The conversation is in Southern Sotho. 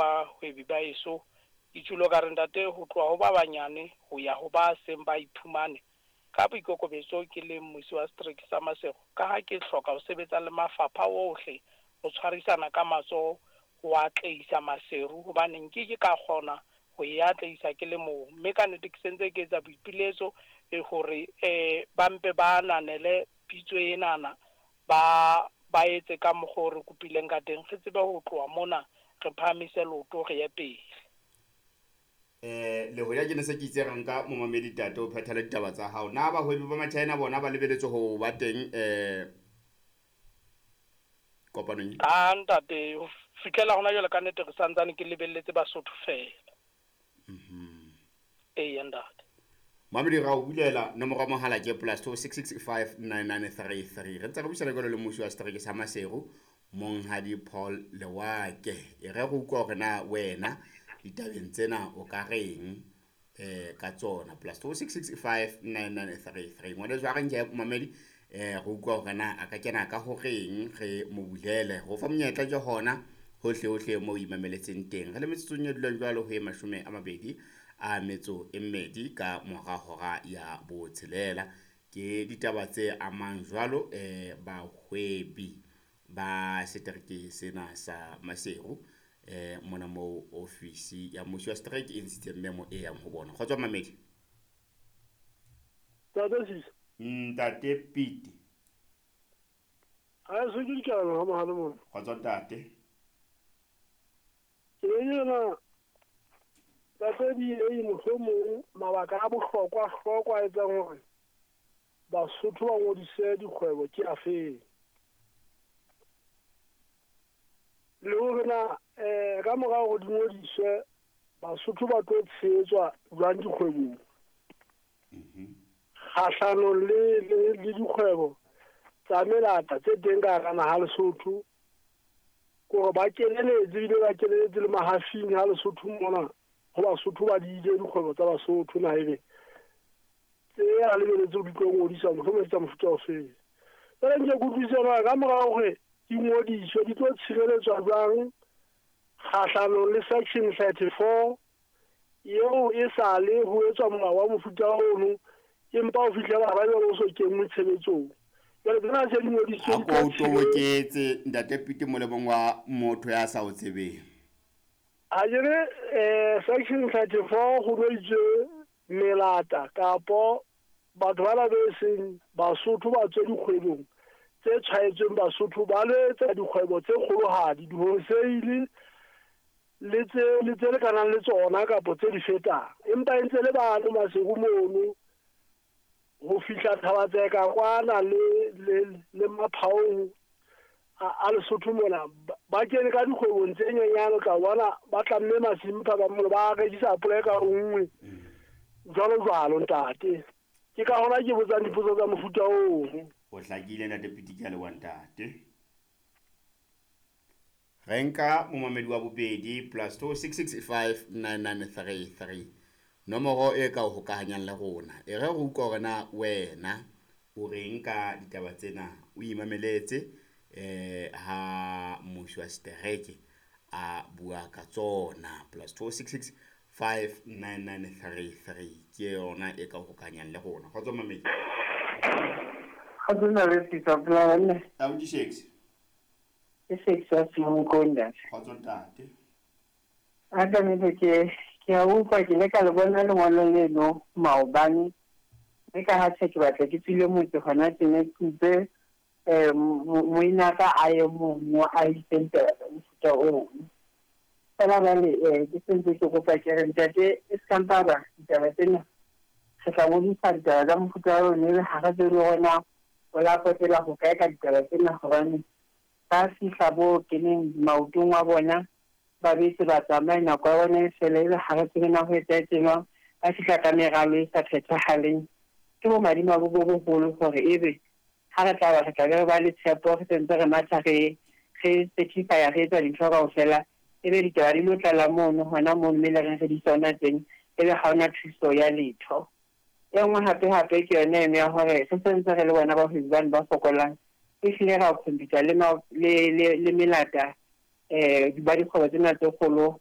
Bahwebi ba eso. Ke tjhulo ka re ntate ho tloha ho ba banyane ho ya ho ba seng ba iphumane. Ka boikokobetso ke le mmusi wa setereke sa Maseru, ka ha ke hloka ho sebetsa le mafapha ohle ho tshwarisana ka matsoho ho atlehisa Maseru hobane nkeke ka kgona ho e atlehisa ke le mong. Mme ka nnete ke sentse ke etsa boipiletso hore ba mpe ba ananele pitso enana, ba ba etse ka mokgwa o re kopileng ka teng, re tsebe ho tloha mona re phahamise leoto re ye pele. Le hoja ke ne se ke itse re nka momamedi tate o phethele ditaba tsa hao. Na bahwebi ba Machina bona ba lebeletse ho ba teng kopanong? A ntate, ho fihlela hona jwale ka nnete re santsane ke lebelletse Basotho feela. Eya ntate. Mamedi ra o bulela nomoro ya mohala ke +266 59933. Re ntse re buisana jwalo le mmusi wa setereke sa Maseru, Monghadi Paul Lewake. E re go utlwa hore na wena ditabeng tsena o ka reng ka tsona. +266 59933. Ngwaneso a re nke momamedi re utlwa hore na a ka kena ka horeng, re mo bulele. Ho fa monyetla ke hona hohle hohle mo o imameletseng teng. Re le metsotsong e dulang jwalo ho e 28 ka mora hora ya botshelela. Ke ditaba tse amang jwalo bahwebi ba setereke sena sa Maseru, mona moo ofisi ya mmusi wa setereke e ntshitseng memo e yang ho bona. Kgotso mamedi. Ntate Sisa. Ntate Pete. Ha se ke dikano ha mohale mona. Kgotso ntate. Ke yena ntate di e mohlomong mabaka a bohlokwa hlokwa a etsang hore Basotho ba ngodise dikgwebo ke afeng? Le hore na ka mora hore di ngodiswe Basotho ba tlo tshehetswa jwang dikgwebong? Kgahlanong le dikgwebo tsa melata tse teng ka hara naha Lesotho, kore ba keneletse ebile ba keneletse le mahafing ha Lesotho mona, ho Basotho ba di ile dikgwebo tsa Basotho na ebe tse a lebeletse ho di tlo ngodiswa mohlomong tsa mofuta ofeng. Jwale nke ke utlwisise hore ka mora hore di ngodiswe di tlo tshireletswa jwang kgahlanong le section 34 eo e sale ho etswa molao wa mofuta ono, empa ho fihlela ba jwale o so kenngwe tshebetsong. Jwale tsena se di ngodisitswe A ko o toboketse ntate Pete molemong wa motho ya sa o tsebeng. Ha ke re section 34 ho no itswe melata kapo batho bana be seng Basotho ba tswe dikgwebong tse tshwaetsweng Basotho, ba lo etsa dikgwebo tse kgolohadi, di-wholesale le tse le tse lekanang le tsona kapo tse di fetang, empa e ntse le bano Maseru mono ho fihla Thaba-Tseka kwana le Maphaong a Lesotho mona, ba kene ka dikgwebong tse nyenyane, o tla bona ba tlamme masimpha ba mono ba rekisa apole ka nngwe jwalo jwalo ntate. Ke ka hona ke botsang dipotso tsa mofuta oo. O hlakile ntate Pete, ke a leboha ntate. Re nka momamedi wa bobedi +266 59933, nomoro e ka o hokahanyang le rona. E re re utlwa hore na wena o reng ka ditaba tsena, o imameletse ha mmusi wa setereke a bua ka tsona. +266 59933 ke yona e ka o hokahanyang le rona. Kgotso mamedi. Kgotso ntate Sisa, phela banna. Abuti Shakes. Ke Shakes wa Semonkong ntate. Kgotso ntate. A ka nnete ke a utlwa, ke ile ka le bona lengolo leno maobane, mme ka ha tjhe ke batla ke tswile motse hona tjena, ke utlwe moinaka a ye mong a itseng taba tsa mofuta oo. Fela jwale ke sentse ke kopa ke re ntate e ska mpa ba ditaba tsena re tla ngodisa ditaba tsa mofuta oo, mme ha re tsebe hore na o la potela ho kae ka ditaba tsena, hobane ba fihla bo keneng maotong wa bona ba betse ba tsamaye nako ya bona e fele, ebe ha re tsebe na ho etsahetse jwang, ba fihla ka meralo e sa phethahaleng. Ke bo madimabe bo boholo hore ebe ha re tla ba re tla be re ba le tshepo, re sentse re matha re certify, re etsa dintho kaofela, ebe ditaba di lo tlala mono hona moo, mme le reng re di tsona teng, ebe ha hona thuso ya letho. E nngwe hape hape ke yona eno ya hore re sentse re le bona bahwebi bano ba fokolang, ehlile ra compete le melata ba dikgwebo tsena tse kgolo.